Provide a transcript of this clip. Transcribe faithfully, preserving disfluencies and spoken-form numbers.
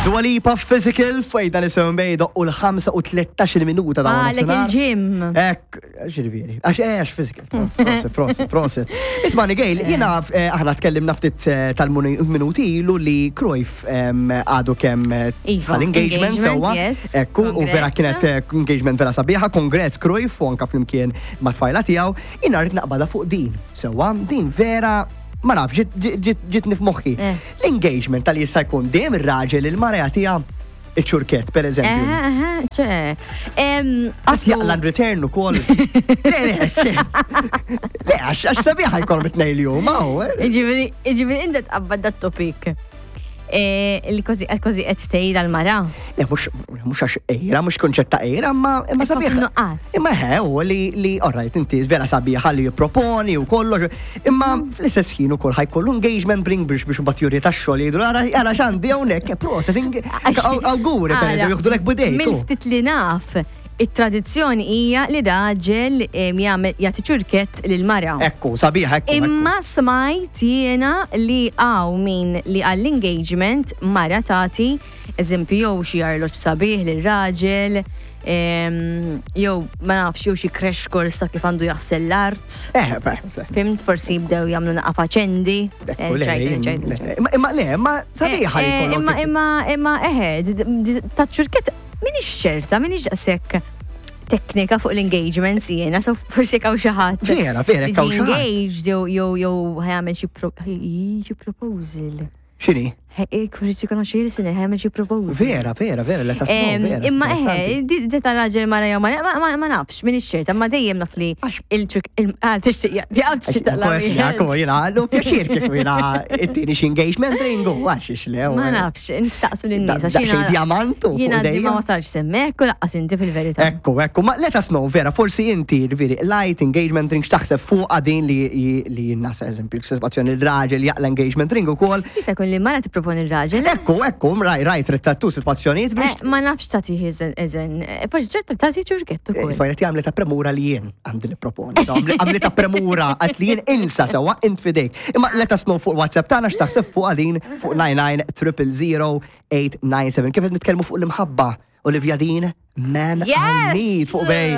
Dua Lipa, Physical, fejda nisimgħu bejdo u l-ħamsa u tlettax-il minuta ta' Għalek nofsinhar. Il-gym. Ek, ġifieri, għax eh, għax physical. Prosit, prosit, prosit. Isma' Gail, jiena eh, aħna tkellimna ftit eh, tal-minuti ilu li Cruyff em, għadu kemm eh, Iva, tal-engagement engagement, sewwa. Yes. Ekku, u vera Congrats. Kienet eh, engagement vera sabiħa, congrats Cruyff u anka flimkien ma' tfajla tiegħu. Jiena rrid naqbada fuq din, sewwa, din vera ma nafx, ġiet- ġiet- ġiet ġietni f'moħħi. Eh. L-engagement tal jista' jkun dejjem ir-raġel il-mara jagħtiha iċ-ċurkett, per eżempju. Eh, eh, ċe. Em, Għas jaqla return u koll. Le, le, le, għax għax sabiħa jkollhom it-tnejn li huma, u, eh. Ġifieri, ġifieri inta tqabbad dat topic. Eh, li kważi kważi qed tgħid għal-mara. Le, mhux mhux għax ejra, mhux kunċett ta' ejra, imma imma Qed tħoss sabiħa. nuqqas. Imma he, u li li alright, inti vera sabiħa li jipproponi u kollox, imma fl-istess ħin ukoll ħa jkollu engagement ring biex biex mbagħad juri tax-xogħol jgħidu ara ara x'għandi hawnhekk, proset, awguri per eżempju, jieħdulek b'idejk. u. Mill-ftit li naf, it-tradizzjoni hija li raġel em, jagħmel jagħti ċurkett lil mara. Ekku, sabiħa, ekku. Ekku. Imma smajt jiena li hawn min li għall-engagement mara tagħti eżempju jew xi arloġġ sabiħ lil raġel, em, jew ma nafx jew xi crash course ta' kif għandu jaħsel l-art. Eh, beh, se. Fhimt, forsi jibdew jagħmlu naqa faċendi. Ekku, Eh, le, ċajt, ċajt, le, ċajt. Imma imma le, imma sabiħa li Eh, eh, jkollok Imma imma imma eħe, d- d- ta' ċurkett minix ċerta, minix daqshekk teknika fuq l-engagements jiena, so forsi hawn xi ħadd. Vera, vera, li hawn ġie xi ħadd. engaged jew jew jew ħa jagħmel xi pro- xi proposal. X'inhi? Forsi jkun xi listener ħa jagħmel xi proposal. Vera, vera, vera, let us know, Em, vera. Imma eħe, interessanti. di di ta' raġel mara jew mara, ma- ma ma nafx, minix ċerta, ma dejjem naf li Għax- il-ċurk, ah, tixtieq, di għal tixtieq taqla' Kos, jiena, lu pjaċir kieku jiena it-tieni xi engagement ring u għax le. u- Ma nafx, nistaqsu lin-nies. Da- Għax daqsxejn jiena- diamantu fuq Jiena għadni idejja. ma wasalx s'hemmhekk u lanqas inti fil-verità. Ekku, ekku, ma let us know, vera, forsi inti, veri, light engagement ring, x'taħseb fuq din li li nasa eżempju, situazzjoni il-raġel jaqla engagement ring u kol. Jista' jkun li mara tipproponi r-raġel. Ekku, ekku, rajt, rajt, ritrattu situazzjonijiet biex Eh, Ma nafx tagħti eżen, eżen, forsi ċerta tagħti ċurkett ukoll. Fajnet għamlet ta' premura li jien għandi niproponi. So, għamlet ta' premura għat li jien insa sewa int fidejk. Imma let us know fuq WhatsApp tagħna x'taħseb fuq għadin fuq nine nine triple zero eight nine seven. Kif qed nitkellmu fuq l-imħabba? Olivia Dean, Man I Yes! Need fuq Bay.